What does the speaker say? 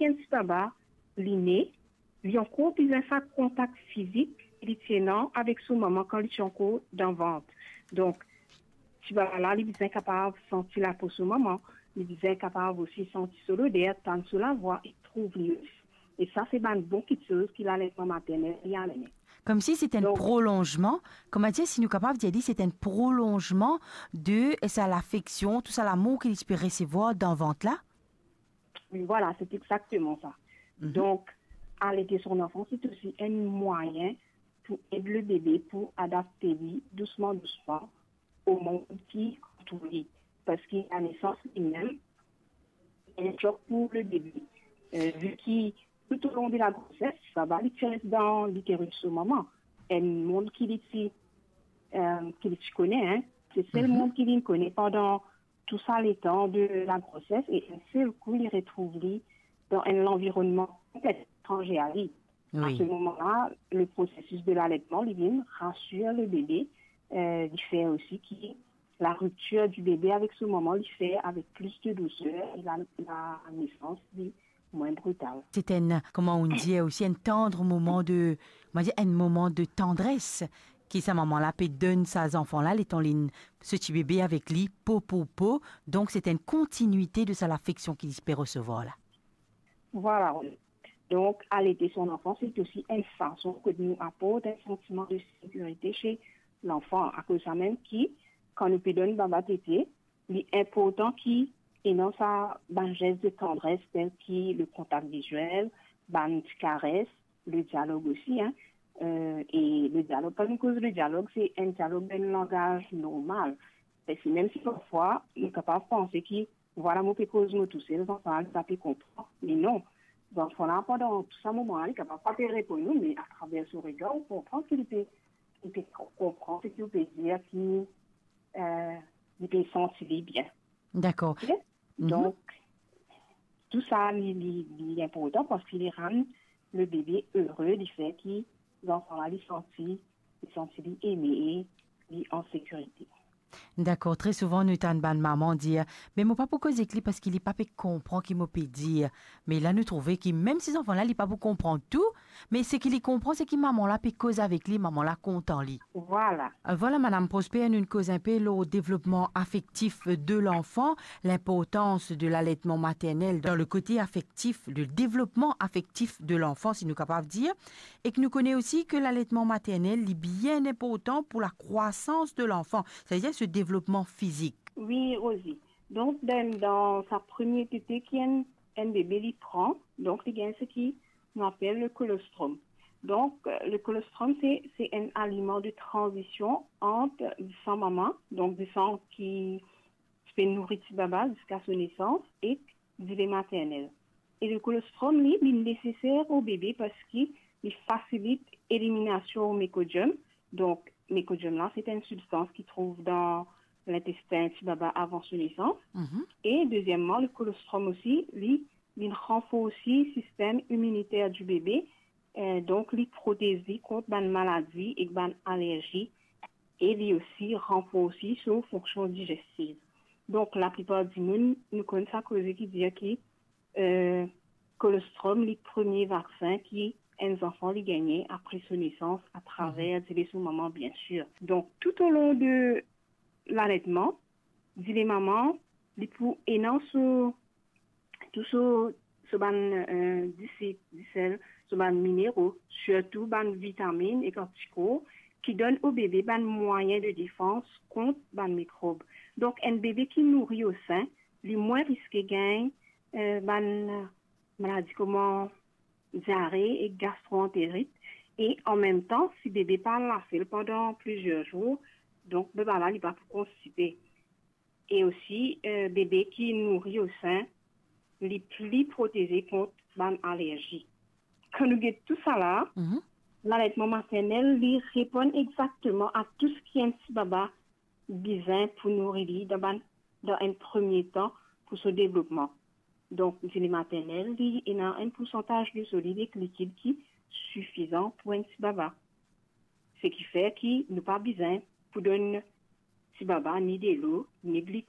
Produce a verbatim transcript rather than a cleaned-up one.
enn ti baba, li ne, li ankor bizin sa kontak fizik ki li ti ena avek so mama kan li ti ankor dan vant. Donk, ti baba la, li bizin kapav santi lapo so mama, li bizin kapav osi santi so loder, tann so lavwa e trouv li osi. E sa, se bann bon kiksoz ki laletman maternel li amenn. Koumsi se enn... Donk, prolonzman, kouma dir, si nou kapav dir li, se enn prolonzman de sa lafeksion, tou sa lamour ki li ti pe resevwar dan vant la? Wi, vwala, se exakteman sa. Mhm. Donk, alete son anfan, se osi enn mwayin pou ed le bebe pou adapte li dousman, dousman o mond ki antour li. Parski lanesans limem, enn sok pou le bebe. Eh, vi ki toutolong de lagroses, sa va li ti res dan literis so mama. Enn mond ki li ti, eh, ki li ti kone, en. Se sel... Mhm. ...mond ki li kone pandan tou sa letan de lagroses, e enn sel kou li retrouv li dan enn lanvironnman konpletman etranze a li. Wi. A se moman la, le prosesis de laletman, li vinn rasir le bebe, eh, li fer osi ki la riptir di bebe avek so mama, li fer avek plis de douser e la, lanesans li mwin brital. Se enn, kouma ou dir osi, enn tann moman de, on va dire, enn moman de tandres ki sa mama la pe donn sa zanfan la, letan li, so ti bebe avek li, po pou po. Donk, se enn kontinite de sa lafeksion ki li pe resevwar la. Vwala. Donk, alete son anfan, se osi enn fason ke nou aport enn santiman de sekirite se lanfan. Akoz sa mem ki, kan nou pe donn baba tete, li inportan ki ena sa bann zes de tandres, tel ki le kontak viziel, bann ti kares, le dialog osi, en. Eh, e le dialog, kan nou koz le dialog, se enn dialog dan enn langaz normal. Parski mem si parfwa, nou kapav panse ki, vwala, mo pe koz mo tousel, zanfan la pa pe konpran. Me non, zanfan la, pandan tou sa moman la, li kapav pa pe reponn ou, me atraver so regar, ou konpran ki li pe, li pe konpran seki ou pe dir, ki, eh, li pe santi li bien. Dakor. Ok? Mhm. Donk, tou sa, li, li, li inportan parski li rann le bebe ere, li fer ki zanfan la, li santi, li santi li eme e li an sekirite. Dakor, tre souvan nou tann bann mama dir, "Me mo pa pou koz ek li parski li pa pe konpran ki mo pe dir." Me la nou trouve ki mem si zanfan la, li pa pou konpran tou, me seki li konpran, seki mama la pe koz avek li, mama la kontan li. Vwala. Euh, vwala, Madam Prosper, nou koz inpe lor devlopman afektif de lanfan, linportans de laletman maternel dan le kote afektif, le devlopman afektif de lanfan, si nou kapav dir, e ki nou kone osi ki laletman maternel, li bien inportan pou lakrwasans de lanfan, setadir so devlopman fizik. Wi, Rosie. Donk, dan, dan sa premie tete ki enn, enn bebe li pran, donk, li gagn seki nou apel le kolostrom. Donk, euh, le kolostrom, se, se enn aliman de tranzision ant disan mama, donk disan ki pe nouri ti baba ziska so nesans, ek dile maternel. E le kolostrom, li, li neseser o bebe parski li fasilit eliminasion mekodiom. Donk, mekodiom la, se enn sibstans ki trouv dan lintestin ti baba avan so nesans. Mhm. E dezieman, le kolostrom osi, li, li ranforsi sistem iminiter di bebe, eh, donk, li protez li kont bann maladi ek bann alerzi, e li osi ranforsi so fonksion digestiv. Donk, laplipar dimoun, nou konn sa koze ki dir ki, eh, kolostrom, li premie vaksin ki enn zanfan li gagne apre so nesans, atraver, mhm, dile so mama, biensir. Donk, toutolong de laletman, dile mama, li pou ena so tou so, so bann, eh, disip, disel, so bann minero, sirtou bann vitamin ek antikor ki donn o bebe bann mwayin de defans kont bann mikrob. Donk, enn bebe ki nouri o sin, li mwin riske gagn, eh, bann maladi kouma diare ek gastroanterit. E anmemtan, si bebe pa al lave li pandan plizier zour, donk bebe la, li pa pou konstipe. E osi, eh, bebe ki nouri o sin, li pli proteze kont bann alerzi. Kan nou get tou sa la, mhm, laletman maternel, li reponn exakteman a tou seki enn ti baba bizin pou nouri li dan bann, dan enn premie tan pou so devlopman. Donk, dile maternel, li ena enn poursantaz de solid ek likid ki sifizan pou enn ti baba. Seki fer ki nou pa bizin pou donn ti baba ni delo, ni glikon.